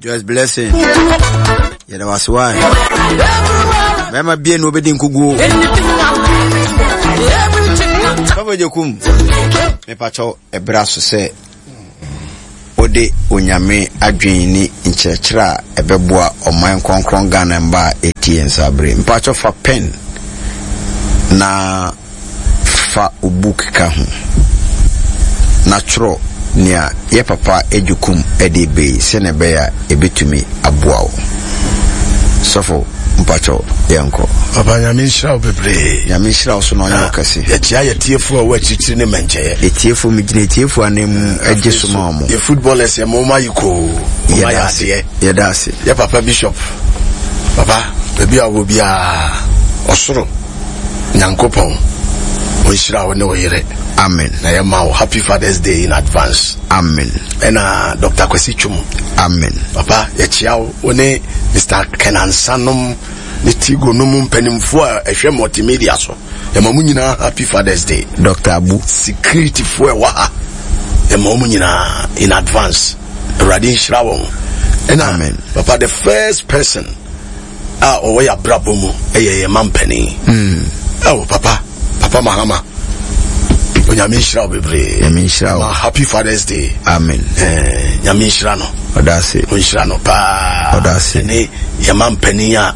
Joyce Blessing. Yɛda wase wae. Bɛrima bie na obɛdi nkuguo. Sɔfo Gyekum, mepakyɛw ɛberɛ aso sɛ wode Onyame adwene ne nkyerɛkyerɛ a ɛbɛboa ɔman kronkron Ghana mma a ɛtie nsa bere. Mpakyɛw fa pen na Fa wo book ka ho na twerɛ nea yɛ papa Agyekum de reba yi sɛnea ɛbɛyɛ a ɛbɛtumi aboa wo. Sɔfo mpakyɛw yɛnkɔ. Papa Nyame nhyira wo bebree. Nyame nhyira wo so na ɔnyɛ wo kɛse. Yɛkyia yɛ tiefo a ɛwɔ akyirikyiri ne mmɛnkyɛeɛ. Etiefo megyina etiefo anan mu gye so ma wɔn. Yɛ footballers yɛ mo ma yi koo. Mo ma yɛ adeɛ. Yɛda ase. Yɛ papa bishop. Papa baabi a wɔ biara ɔsoro. Nyankopɔn ɔnhyira wo ne wo yere. Amen. Na yɛ ma wo happy father's day in advance. Amen. Ɛna Dr. Kwasi Twum. Amen. Papa yɛkyia wo wo ne Mr. Kenansa nom ne Tigo nom mpanimfoɔ a ɛhwɛ multimedia so. Yɛma mo nyinaa happy father's day. Dr. Abu. Security foɔ ɛwɔ ha. Yɛma mo nyinaa in advance. Awurade nhyira wɔn. Ɛna Amen. Papa the first person a ɔwɔ yɛ abrabɔ mu ɛyɛ yɛ mampanin mm. ɛwɔ papa papa mahama onyame nhyira wo bebree nyame nhyira wo happy fathers day amen eh, nyame nhyira no ɔda ase ɔnhyira no paa ɔda ase ne yɛ mampanin a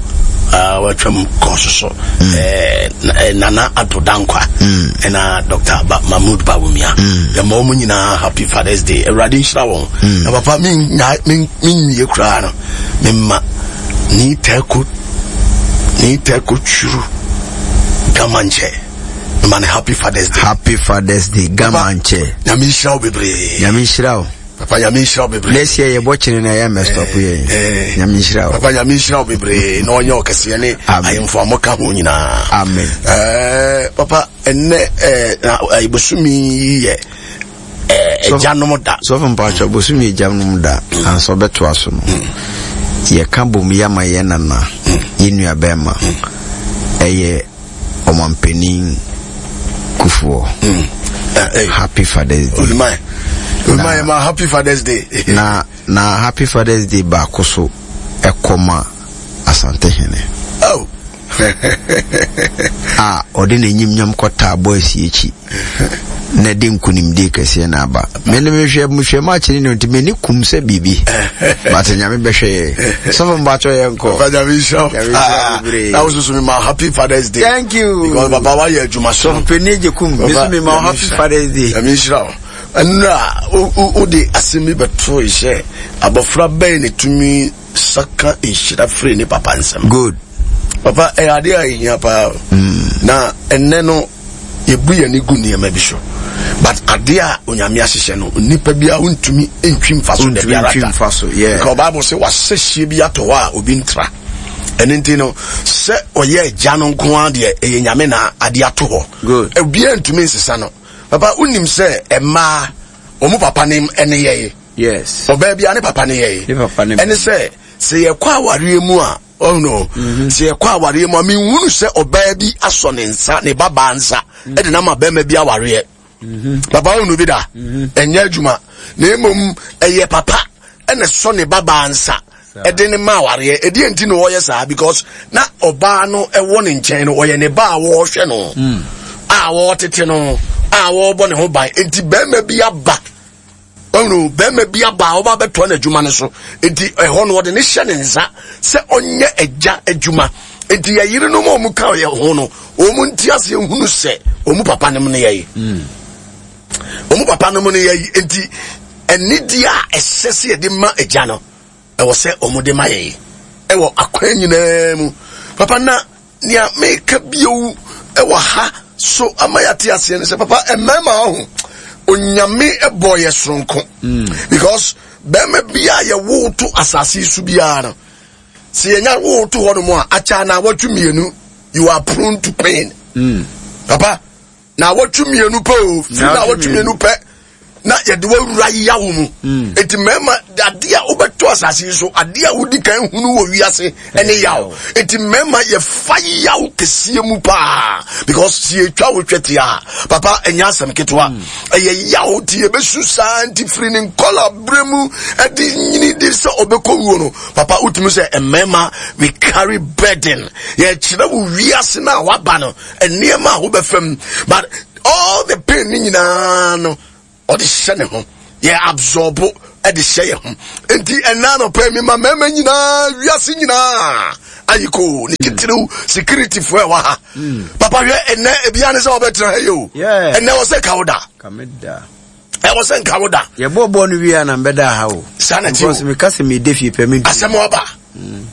uh, watwam kɔɔ so so mm. eh, eh, nana ado dankwa mm. ɛna dr ba, mahmood bawumia mm. yɛma wɔn nyinaa happy fathers day awurade nhyira wɔn mm. na papa menwie koraa no memma Ni tɛko ni tɛko twuru gamankyɛ mema no happy fathers day. Happy fathers day gamankyɛ. Nyame nhyira wo bebree. Nyame nhyira wo. Papa nyame nhyira wo bebree. Next year yɛbɔ kyene na ɛyɛ mɛ stop yɛ. Eh, eh. Nyame nhyira wo. Papa nyame nhyira wo bebree na ɔnyɛ ɔkɛseɛ ne ahemfo a moka ho nyinaa. Amen. Eh, papa ɛnnɛ eh, na eh, bosome yi yɛ agyanom da. Sɔfo mpatsɔ bosomi agyanom da ansa ɔbɛtoa so no yɛka bom yɛ ama yɛn nana yɛn nua bɛrima ɛyɛ ɔmampanin Kufuor. Happy Father's Day. Olumai. Olumai ma happy Father's Day. Na na happy Father's Day baako so ɛkɔ ma Asantehene. Oh. A ɔde n'enyimnyam kɔtaa boys yi akyi na ɛde nkunimdie kɛseɛ na aba. Me ne mehwɛ mehwɛ match ne no nti m'ani kum sɛ biribi. But nyame bɛhwɛ yɛ. Sɔfo mpatsɔ yɛ nkɔ. Papa nyame nhyira wo. Nyame nhyira wo bebree. Na wo soso me ma happy Father's Day. Thank you. Because papa wayɛ adwuma so. Sɔfo panyin gye kum. Me so me ma happy Father's Day. Nyame nhyira wo. Ɛnura wode asɛm bi bɛto sɛ abɔfra bɛn na tumi saka nhyira firi ne papa nsam. Good. Papa ɛyɛ adeɛ a ɛhia paa. Mm. Na ɛnɛ no yɛbu yɛn ani gu nneɛma bi so. But adeɛ a onyame ahyehyɛ no nipa bi a wontumi ntwi mfa so da biara da. Mfa so, yeah. Because Bible sɛ wahyɛ hyie bi atɔ hɔ a obi ntra. Ɛno nti no sɛ ɔyɛ agya no nko ara deɛ ɛyɛ nyame na adeɛ ato hɔ. Good. Obiara ntumi nsesa no. Papa wonim sɛ mmaa wɔn papa ne ɛne yɛye. Yes. Ɔbaa biara ne papa ne yɛye. Ne papa ne. Ɛne sɛ sɛ yɛkɔ awareɛ mu a ɔno no mhm. sɛ yɛkɔ awareɛ mu a menhunu sɛ ɔbaa bi asɔ ne nsa ne babaa nsa mhm. ɛde nama bɛrima bi awareɛ. Mhm. Papa wohunu bi da ɛnyɛ adwuma na mmom ɛyɛ papa ɛna sɔ ne babaa nsa ɛde ne ma awareɛ ɛdeɛ nti na ɔyɛ saa because na ɔbaa no ɛwɔ ne nkyɛn no ɔyɛ ne ba a wɔrehwɛ no mm. a wɔretete no a wɔrebɔ ne ho ban nti bɛrima bi aba ɔno bɛrima bi aba a ɔba bɛtoa n'adwuma no so nti ɛhɔ no ɔde ne hyɛ ne nsa sɛ ɔnyɛ agya adwuma nti yɛ yerenom a wɔn ka yɛ ho no wɔn nti aseɛ hunu sɛ wɔn papa nom no yɛ yi mm. wɔn papa nom no yɛ yi nti anidie a ɛsɛ sɛ yɛde ma agya no ɛwɔ sɛ wɔn de ma yɛ ɛwɔ akwan nyinaa mu papa na nea meka bio ɛwɔ ha so ama yɛate aseɛ no sɛ papa mmarima ɔho onyame bɔ yɛ soronko mm. because bɛrima bi a yɛwo to asase so biara no sɛ yɛnya wo to hɔ nom a akyɛ na awɔtwe mmienu you are prone to pain mm. papa na awɔtwe mmienu pɛ o firi na awɔtwe mmienu pɛ na yɛde wawura yawo mu mm. eti mmarima adeɛ a wobɛtɔ. bɛto asase yi so, adeɛ a wodi kan hunu wɔ wiase ɛne yaw. Eti mmarima yɛfa yaw kɛseɛ mu paa because si yɛtwa wo twɛ tia papa ɛnyɛ asɛm ketewa. Hmm. Ɛyɛ yaw nti yɛbɛsu saa nti firi ne nkɔla berɛ mu ɛde nyini de sɛ ɔbɛkɔ wuo no papa wotumi sɛ mmarima we carry burden. Yɛkyerɛ wo wiase no a waba no nneɛma a wobɛfam but all the pain ne nyinaa no ɔde hyɛ ne ho yɛ absorb de hyɛ yɛ ho nti ɛna anɔpɛ mi ma mmarima nyinaa wiase nyinaa ayiko ne titiriw security fo ɛwɔ ha hmm. papa hwɛ ɛnɛ ebia ne sɛ ɔbɛtena ha yi o ɛnɛ wɔ sɛ kawo da ɛwɔ sɛ nkawo da yɛbɔ bɔɔl no wie a na mbɛda ha o saa na ti o meka sɛ mede fie pɛ me asɛm ɔba hmm.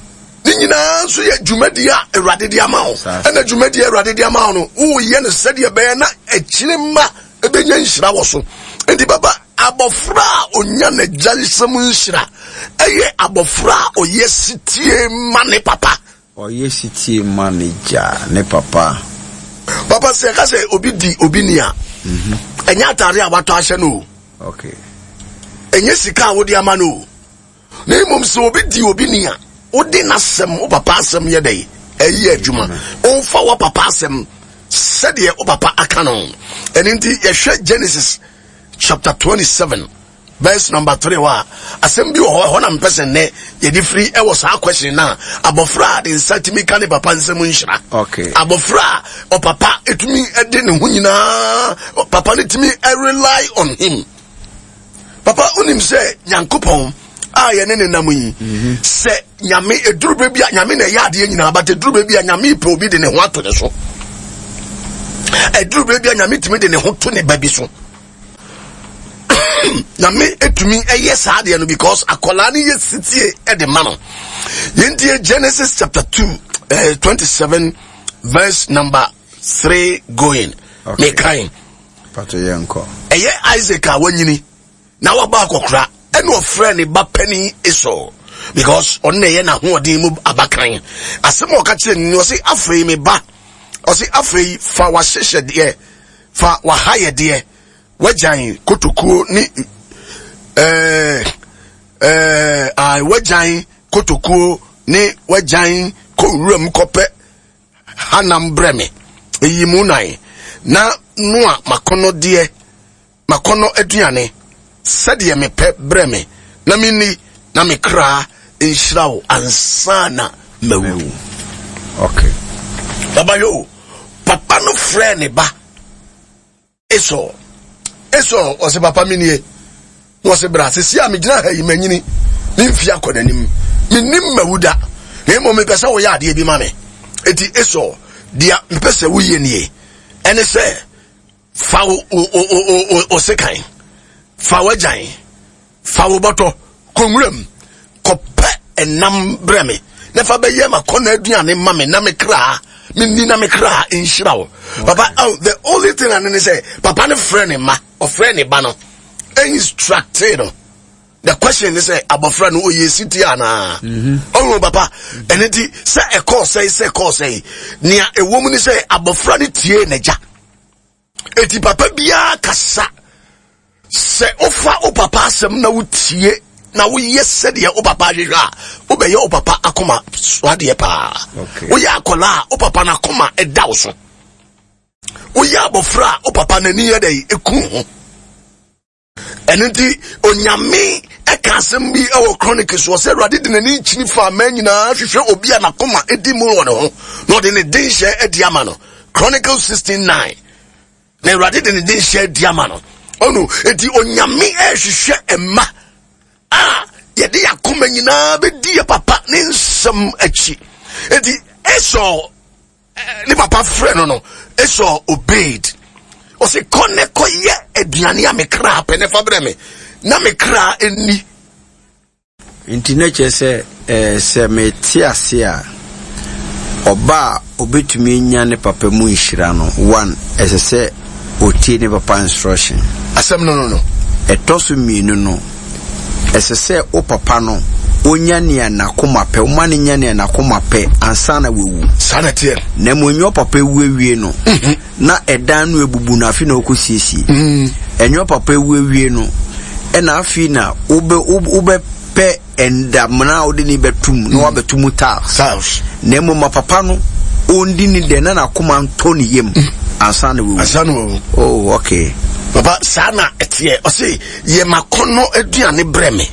ne nyinaa nso yɛ dwumadi a awurade de ama wo ɛna dwumadi a awurade de ama wo no woyɛ no sɛdeɛ ɛbɛyɛ na akyire ma ɛbɛnya nhyira wɔ so nti baba abɔfra a ɔnya n'agya nsam nhyira ɛyɛ abɔfra a ɔyɛ sitie ma ne papa ɔyɛ sitie ma ne gya ne papa papa sɛ ɛka sɛ obi di obi ni a mhm. ɛnyɛ atare a watɔ ahyɛ no o ɛnyɛ sika a wode ama no o Na mmom sɛ obi di obi ni a, wode n'asɛm, wo papa asɛm yɛ dɛn? Ɛyɛ adwuma. Womfa wo papa asɛm sɛdeɛ wo papa aka no. Ɛno nti yɛhwɛ Genesis chapter 27 verse number 3 hɔ a, asɛm bi wɔ hɔ, ɛhɔ na mpɛ sɛ nnɛ yɛde firi ɛwɔ saa question no a, abɔfra a de nsa tumi ka ne papa nsɛm nhyira. Okay. Abɔfra a ɔpapa ɛtumi de ne ho nyinaa, papa no tumi rely on him. Papa, wonim sɛ Nyankopɔn a yɛne ne nam yi, mhm. sɛ Nyame eduru bɛ bi a Nyame na ɛyɛ adeɛ nyinaa, but eduru bɛ bi a Nyame pɛ obi de ne ho ato ne so. Eduru bɛ bi a Nyame tumi de ne ho to ne ba bi so. Nyame etumi ɛyɛ saa adeɛ no because akwadaa no yɛ sitie ɛde ma no. Yɛntie Genesis chapter 2, eh, 27 verse number 3 going. Okay. Mekan. Ɛyɛ Isaac a wanyini na wabɔ akɔkora ɛna ɔfrɛ ne ba panin Esau because ɔno na ɛyɛ n'ahoɔden mu abakan. Asɛm a ɔka kyerɛ no ɔse afei me ba ɔse afei fa w'ahyehyɛdeɛ fa w'ahayɛdeɛ w'agyan kotokuo ne ɛɛ ɛɛ w'agyan kotokuo ne w'agyan kɔ wuram kɔpɛ Hanam brɛ me, yi mu nan, na noa m'akɔnnɔdeɛ, m'akɔnnɔ aduane, sɛdeɛ mepɛ brɛ me, na menni, na me kra nhyira wo ansa na mawu. Okay. Baba yo, papa no frɛ ne ba. Esau, Esau, ɔse papa me nie. Na ɔse bra, sisi a megyina ha yi manyini, me mfie akɔ n'anim, mennim mawu da, na mmom mepɛ sɛ woyɛ adeɛ bi ma me. Eti Esau, deɛ mepɛ sɛ woyɛ nie, ɛne sɛ fa wo, wo, wo, wo, wo, wo sekan, fa w'agyan, Fa wo bɔtɔ kɔ nwuram kɔpɛ ɛnam brɛ me na fa bɛyɛ m'akɔnnɔ aduane ma me na me kra menni na me kra nhyira wo. Papa, oh, the only thing ane ne sɛ papa no frɛ ne ma ɔfrɛ ne ba no instructe no. The question ne sɛ abɔfra no ɔyɛ siti anaa? Ɔhu papa, ɛno nti sɛ ɛkɔɔ sɛe sɛ ɛkɔɔ sɛe nea ɛwɔ mu ne sɛ abɔfra no tie n'agya. Eti papa biara kasa sɛ wofa wo papa asɛm na wotie na woyɛ sɛdeɛ wo papa ahwehwɛ a wobɛyɛ wo papa akoma so adeɛ paa. Woyɛ akwadaa a wo papa no akoma ɛda wo so. Woyɛ abɔfra a wo papa n'ani yɛ dɛ eku ho. Ɛno nti Onyame ɛka asɛm bi ɛwɔ Chronicles wɔ sɛ Awurade de n'ani kyini fa aman nyinaa hwehwɛ obi a n'akoma edi mu wɔ ne ho na ɔde ne denhyɛ adi ama no. Chronicles 16:9 na Awurade de ne denhyɛ adi ama no. Ɔno nti Onyame ɛhwehwɛ mma a yɛde yɛn akoma nyinaa bɛdi yɛ papa ne nsɛm akyi. Nti Esau ne papa frɛ no no Esau obeyed ɔsi kɔ ne kɔ yɛ aduane a me kra pɛ ne fa brɛ me na me kra nni. Nti na kyerɛ sɛ eh, sɛ mete ase a, ɔba a obetumi anya ne papa mu nhyira no, one, ɛsɛ sɛ otie ne papa instruction. Asɛm no no no. Ɛtɔ so mmienu no, Ɛsɛ sɛ wo papa no, onya nea n'akoma pɛ, woma no nya nea n'akoma pɛ ansa na wawu. Saa na ɛteɛ. Na mmom ɛnyɛ ɔpapa awu awie no, mhm. na ɛdan no abubu no afei na ɔkɔsiesie. Mm. Ɛnyɛ ɔpapa awu awie no, ɛna afei na wobɛ wobɛpɛ Ɛndamena a wode ne bɛto mu na wabɛto mu tiles. Tiles. Na mmom ma papa no ɔndi ne dɛ na n'akoma ntɔ ne yam ansa na wawu. Ansa na wawu. Oh, okay. Papa, saa na ɛteɛ. Ɔse, yɛ m'akɔnnɔ aduane brɛ me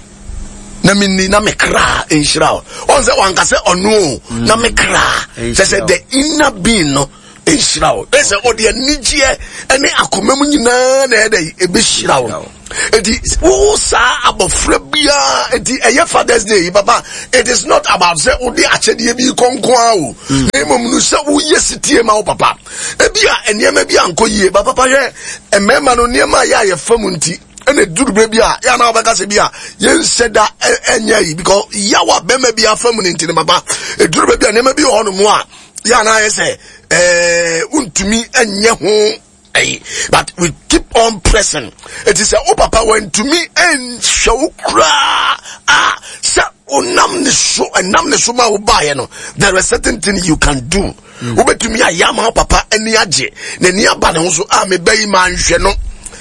na menni na me kra nhyira wo. Ɔn sɛ wanka sɛ ɔno o, na me kra. Kyɛ sɛ the inner being no nhyira wo. Ɛ sɛ ɔde anigyeɛ ne akoma mu nyinaa na ɛdɛ ɛbɛhyira wo. Eti wo saa abɔfra biara eti ɛyɛ Father's Day yi papa it is not about sɛ wode akyɛdeɛ bi kɔnko ara o. Na mmom no sɛ woyɛ sitie ma wo papa. Ebi a nneɛma bi ankɔ yie ba papa hwɛ mmarima no nneɛma a yɛ a yɛfa mu nti ɛna duru bɛ bi a yɛ anaa wɔbɛka sɛ bi a yɛnhyɛ da ɛnyɛ yi because yawa bɛrima bi afa mu ne nti no papa eduru bɛ bi a nneɛma bi wɔ hɔ nom a yɛ anaa yɛ sɛ ɛɛ wontumi ɛnyɛ ho ɛyi but we keep on pressing eti sɛ wo papa wantumi ɛnhwɛ wo koraa a sɛ wonam ne so ɛnam ne so ma wo baeɛ no there is certain thing you can do wobɛtumi ayɛ ama wo papa ani agye n'ani aba ne ho so a meba yi ma nhwɛ no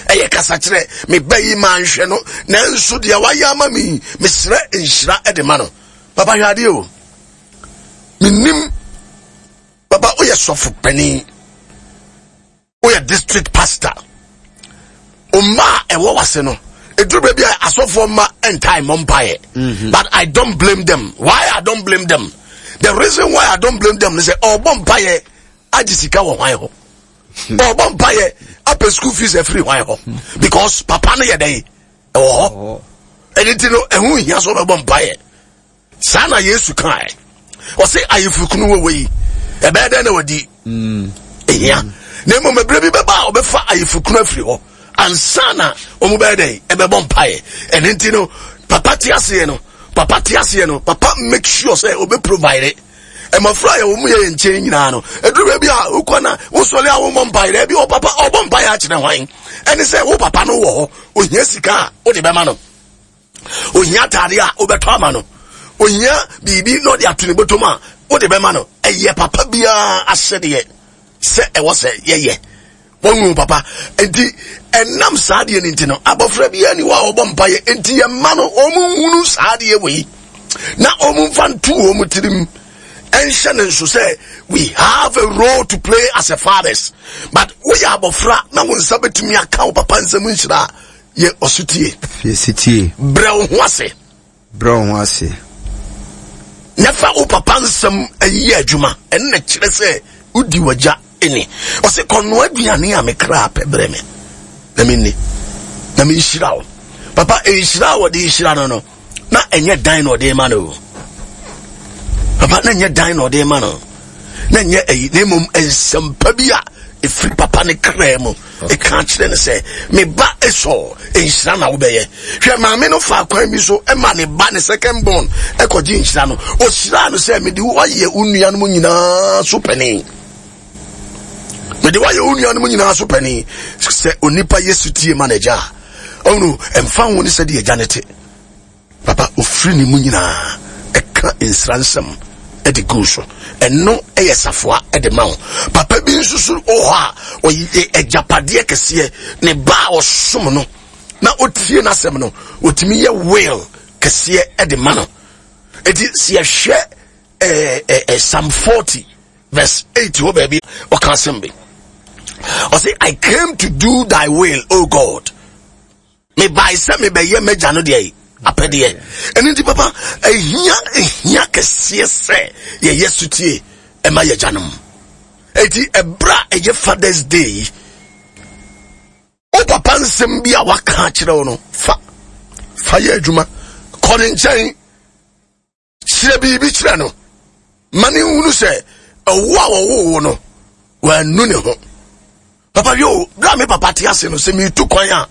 ɛyɛ kasakyerɛ meba yi ma nhwɛ no nanso deɛ wayɛ ama me yi mesrɛ nhyira de ma no papa hwɛ adeɛ o menim papa woyɛ sɔfo panin woyɛ district pastor mma a ɛwɔ wase no ɛduru baabi a asɔfoɔ mma ntae mmɔ mpaeɛ mhm. but i don't blame them why i don't blame them the reason why i don't blame them is sɛ ɔbɔ mpaeɛ agye sika wɔ hwan hɔ ɔbɔ mpaeɛ apɛ school fees afiri hwan hɔ because papa no yɛ dɛn ɛwɔ hɔ ɛno nti no ɛho hia sɛ ɔbɛbɔ mpaeɛ Saa na Yesu kae. Ɔse ayeforokunu wɔ wei, ɛbɛyɛ dɛn na wadi ehia? Na mmom ɛberɛ bi bɛba a ɔbɛfa ayeforokunu afiri hɔ ansa na wɔn bɛyɛ dɛn ɛbɛbɔ mpaeɛ. Ɛno nti no, papa te aseɛ no, papa te aseɛ no, papa make sure sɛ ɔbɛ provide. Mmɔfra a yɛwɔ mu yɛ yɛn nkyɛn nyinaa no, ɛduru baabi a wokɔ na wosɔre a wommɔ mpaeɛ dɛ bi wɔ papa ɔbɔ mpaeɛ akyerɛ hwan? Ɛne sɛ wo papa no wɔ hɔ, ohia sika a wode bɛma no. Ohia ataade a wobɛtɔ ama no. Ohia biribi na ɔde ato ne bɔtɔm a wode bɛma no. Ɛyɛ papa biara asɛdeɛ sɛ ɛwɔ sɛ yɛyɛ. Wɔnwu papa. Nti ɛnam saa adeɛ no nti no, abɔfra biara ni hɔ a ɔbɔ mpaeɛ. Nti yɛmma no wɔn nhunu saa adeɛ wei na wɔn mfa nto wɔn tirim ɛnhyɛ ne nso sɛ we have a role to play as a fathers. But woyɛ abɔfra na wo nsa bɛtumi aka wo papa nsɛm nhyira a, Yɛ ɔsotie. Yɛ setie. Brɛ wo ho ase. Brɛ wo ho ase. Na fa wo papa nsɛm yɛ adwuma. Ɛno na kyerɛ sɛ wodi w'agya ni. Ɔse kɔnoa aduane a me kra pɛ brɛ me na menni na menhyira wo. Papa, nhyira a wɔde hyira no no, na ɛnyɛ dan na ɔde ma no o. Papa, na ɛnyɛ dan na ɔde ma no. Na ɛnyɛ ayi, na mmom nsɛmpa bi a ɛfiri papa ne kra mu. Ɛka kyerɛ no sɛ, me ba Esau, nhyira na wobɛyɛ. Hwɛ, maame no faa kwan bi so ma ne ba, ne second born, ɛkɔgye nhyira no. Ɔhyiraa no sɛ, mede wo ayɛ wo nuanom nyinaa so panin. Mede wo ayɛ wo nuanom nyinaa so panin. Sɛ onipa yɛ sutie ma n'agya a, ɔno ɛmfa ho ne sɛdeɛ agya no te. Papa, ofiri ne mu nyinaa ɛka nsra nsɛm de gu so. Ɛno yɛ safoa de ma wo. Papa bi nso so wɔ hɔ a ɔyɛ agyapadeɛ kɛseɛ. Ne ba a ɔsom no na ɔtie n'asɛm no, ɔtumi yɛ will kɛseɛ de ma no. Eti sɛ yɛhwɛ ɛɛ ɛɛ Psalm 40 verse 8 hɔ baabi ɔka asɛm bi. Ɔse, I came to do thy will, O God. Mebae sɛ mebɛyɛ m'agya no deɛ apɛdeɛ. Ɛno nti papa, ɛhia ɛhia kɛseɛ sɛ yɛyɛ sotie ɛma yɛ agyanom. Eti ɛberɛ a ɛyɛ Father's Day yi, wo papa nsɛm bi a waka akyerɛ wo no, fa fa yɛ adwuma. Kɔ ne nkyɛn. Kyerɛ biribi kyerɛ no ma ne nhunu sɛ ɛwo a wɔwoo wo no wannu ne ho. Papa yo, berɛ a me papa te ase no, sɛ metu kwan a,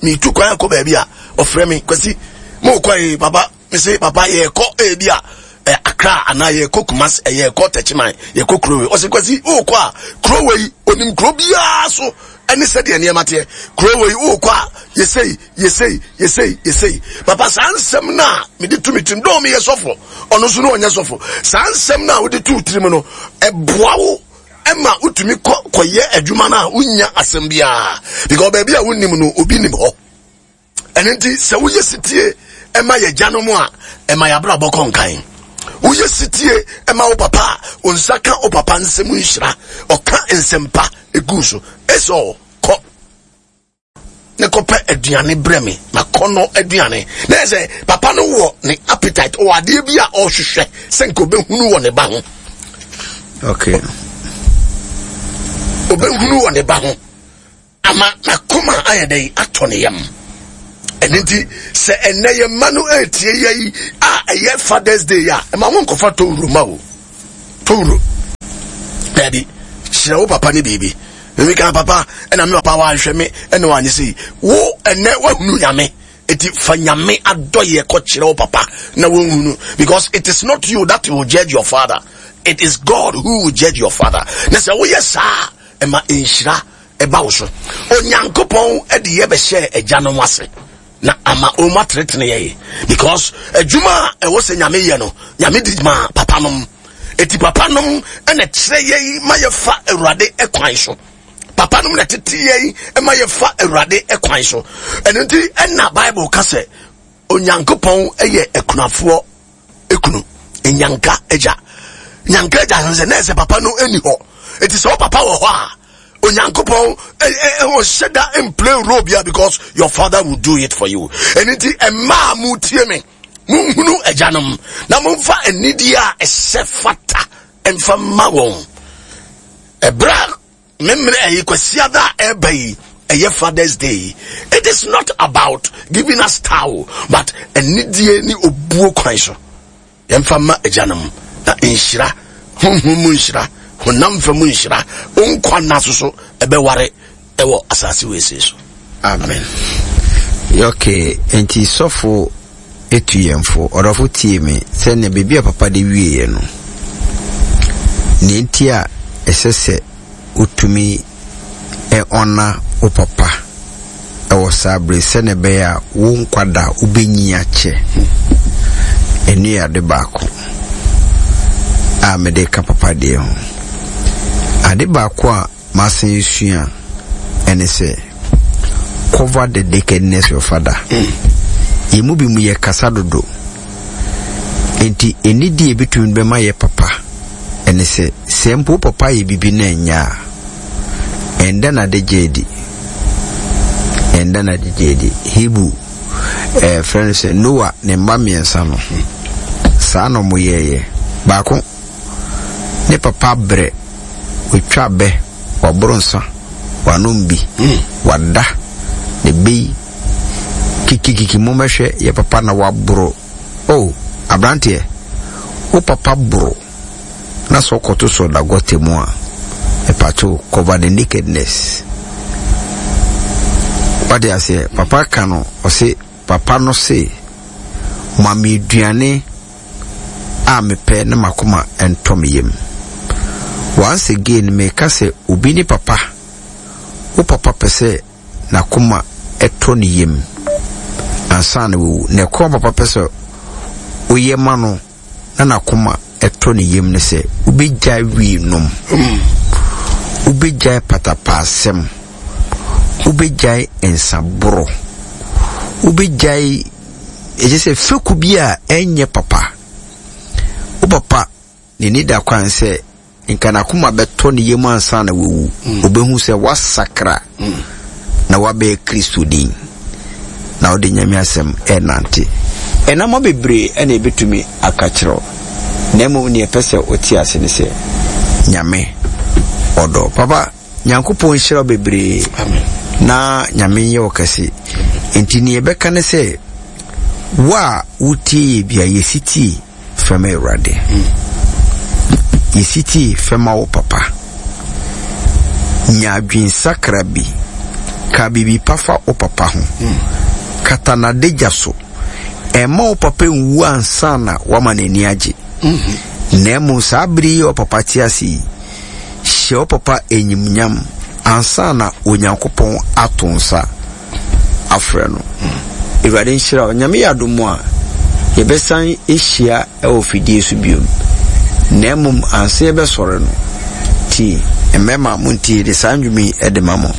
metu kwan akɔ baabi a, ɔfrɛ me, Kwasi, mo kɔ yi, papa, me se, papa, yɛkɔ ebi a, eh, Accra anaa yɛkɔ Kumasi, eh, yɛkɔ Techiman, yɛkɔ kuro wei. Ɔse, Kwasi, wokɔ a, kuro wei, onim kuro biara so ɛne sɛdeɛ nneɛma teɛ. Kuro wei, wokɔ a, yɛsei, yɛsei, yɛsei, yɛsei. Papa, saa nsɛm no a mede tu me tirim, dɔɔ meyɛ sɔfo, ɔno nso no ɔnyɛ sɔfo. Saa nsɛm no a wode tu tirim no, ɛboa wo ɛma wotumi kɔ kɔyɛ adwuma no a wonnya asɛm biara. Because baabi a wonim no, obi nim hɔ. Ɛno nti, sɛ woyɛ setie ma yɛn agyanom a, ɛma yɛn abrabɔ kɔ nkan. Woyɛ setie ma wo papa a, wo nsa ka wo papa nsɛm nhyira. Ɔka nsɛmpa egu so. Esau, kɔ ne kɔpɛ aduane brɛ me, makɔnɔ aduane. Na yɛ sɛ papa no wɔ ne appetite, ɔwɔ adeɛ bi a ɔrehwehwɛ sɛ nka ɔbɛhunu wɔ ne ba ho. Okay. Ɔbɛhunu wɔ ne ba ho. Ama n'akoma ayɛ dɛn atɔ ne yam. Ɛno nti sɛ ɛnɛ yɛn mma no ɛretie yɛ yi a ɛyɛ Father's Day a ɛma wo nkɔfa towuro ma o towuro daabi kyerɛ wo papa ne biribi mimi kan papa ɛna me papa wanhwɛ me ɛna wanyɛ sei wo ɛnɛ wahunu nyame eti fa nyame adɔyɛ kɔ kyerɛ wo papa na wɔnhunu because it is not you that will judge your father it is God who will judge your father na sɛ woyɛ saa ɛma nhyira ɛba wo so. Onyankopɔn de yɛ bɛhyɛɛ agyanom ase na ama wɔn atenetene yɛ because adwuma a ɛwɔ sɛ nyame yɛ no nyame di ma papa nom eti papa nom ɛna kyerɛ yɛn ma yɛfa awurade ɛkwan so papa nom na tete yɛn ma yɛfa awurade ɛkwan so ɛno nti ɛna bible ka sɛ Onyankopɔn yɛ akunafoɔ ekunu nyanka agya nyanka agya no sɛ na ɛsɛ papa no ɛni hɔ eti sɛ ɔpapa wɔ hɔ a Onyankopɔn ɔhyɛ da mplay role bia because your father will do it for you ɛno nti mmaa mu tie me monhunu agyanom na momfa anidie a ɛsɛ fata mfa mma wɔn ɛberɛ a Memene ɛyi Kwasiada a ɛreba yi ɛyɛ Father's Day. It is not about giving us towel but anidie ne obuo kwan so. Yɛmfa mma agyanom na nhyira, honhom mu nhyira, honam fa mu nhyira, nkwa nna so so ɛbɛware ɛwɔ asase wei so. Amen. Okay, nti sɔfo etu yɛn fo. Ɔdɔfo tie me, sɛnea baabi a papa de wieɛ no, nea enti a ɛsɛ sɛ wotumi ɔna wo papa wɔ saa bere sɛnea ɛbɛyɛ a wo nkwa da wobɛnyin akyɛ. Ɛno yɛ ade baako a mede ka papa deɛ ho. Ade baako a M'asan esua ɛne sɛ cover the nakedness your father. Yɛn mu bi mu yɛ kasa dodo. Enti enidi a ebetumi bɛma yɛ papa ɛne sɛ sɛ mpo wo papa yɛ biribi na ɛnyɛ a, ɛnda n'adagya adi. Ɛnda n'adagya adi. Hebrew ɛɛ frɛ no sɛ Noah ne mma mmiɛnsa no saa na wɔyɛɛyɛ. Baako Ne papa abrɛ, watwa abɛ, waboro nsa, wanom bi, wada, ne bɛ yi, kikikiki mommɛhwɛ yɛ papa na waboro. Oh, abranteɛ, wo papa boro na sɛ ɔkɔto sɛ ɔda gɔta mu a, mepatwo cover the nakedness. Wate aseɛ, papa ka no, ɔse, papa no se, ma me aduane a mepɛ na m'akoma ntɔ me yam. Once again meka sɛ obi ne papa, wo papa pɛ sɛ n'akoma tɔ ne yam ansa na wawu. Na ɛkwan papa pɛ sɛ woyɛ ma no na n'akoma tɔ ne yam ne sɛ wobɛgyae wii nom, wobɛgyae patapaasɛm, wobɛgyae nsaboro, wobɛgyae Ɛkyerɛ sɛ fekuw bi a ɛnyɛ papa. Wo papa n'ani da kwan sɛ nka n'akoma bɛtɔ ne yam ansa na wawu. Mm. Obehu sɛ wasakra mm. na wabɛyɛ Kristoni na wode Nyame asɛm ɛnante. Ɛnama bebree ɛna ebetumi aka kyerɛ wo. Na mmom nea ɛpɛ sɛ wote ase ne sɛ Nyame ɔdɔ. Papa Nyankopɔn nhyira wo bebree na Nyame nyɛ wo kɛse. Nti nea yɛbɛka ne sɛ wo a wotie yɛ bia yɛ sitie fɛma Awurade. Yɛ sitie fɛma wo papa. Nya adwensakra bi. Ka biribi pa fa wo papa ho. Kata n'adagya so. Ɛmma wo papa nwu ansa na wama n'ani agye. Na mmom saa bere yi a wo papa te ase yi, Hyɛ wo papa enyimnyam ansaana Onyankopɔn ato nsa afrɛ no. Awurade nhyira wo. Nyame yɛ adom a, yɛbɛsan ahyia wɔ fidie so biom. Na mmom ansa yɛbɛsɔre no, tie. Mmarima montie de saa nnwom yi de ma mo.